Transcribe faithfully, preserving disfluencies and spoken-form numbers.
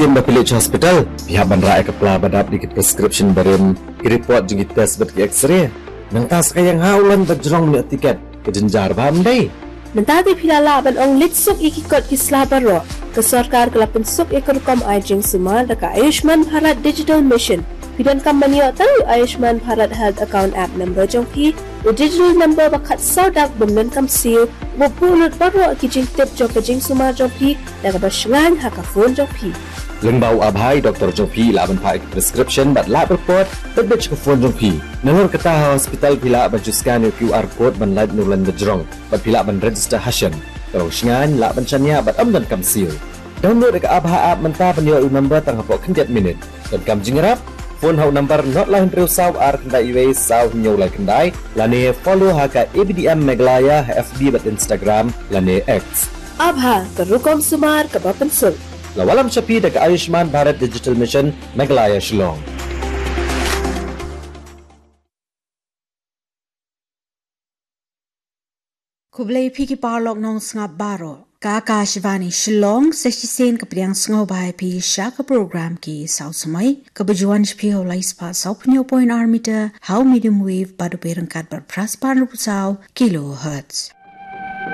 Ïa ba phi leit sha hospital, phi hap ban rah ïa ka pla ba dap da ki prescription barim, ki report jong ki test bad ki X-ray. Nangta sa ka ïeng ha u lon ba jrong, ïoh tiket, ka jynjar bha, ym dei? Nangta te phi la lah ban ong leit suk ïa ki kot ki sla baroh. Ka sorkar ka la pynsuk ïa ka rukom ai jingsumar da ka Ayushman Bharat Digital Mission. Phi donkam ban ïoh tang ïa u Ayushman Bharat Health Account App number jong phi, u digital number ba khatsaw dak bym donkam seal, uba buh lut baroh ki jingtip jong ka jingsumar jong phi da kaba shngaiñ ha ka phone jong phi. Lyngba u ABHA, i doktor jong phi i lah ban phah ïa ki prescription bad lab report beit beit sha ka phone jong phi. Nalor kata, ha hospital phi lah ban shu scan ïa u QR code ban lait na u lon ba jrong, bad phi lah ban register ha shen. Ka long shngaiñ, lah ban shaniah bad ym donkam seal. Download ïa ka ABHA app mynta ban ïoh ïa u number tang hapoh khyndiat minit. Donkam jingïarap? Phone ha u number nod lai hynriew saw ar khyndai wei saw hynñiew lai khyndai, lane follow ha ka A B D M Meghalaya ha F B bad Instagram lane X. ABHA, ka rukom sumar kaba pynsuk. La wallam sha phi da ka Ayushman Bharat Digital Mission, Meghalaya, Shillong. Khublei phi ki paralok nongsngap baroh. Ka Akashvani Shillong, sa shisien ka pdiang sngewbha ïa phi sha ka program Ki Saw Samoi, kaba ju wan sha phi ha u lai spah saw phew hynñiew point ar meter ha u medium wave bad u byrngkat bad phra spah hynriew phew saw kilohertz.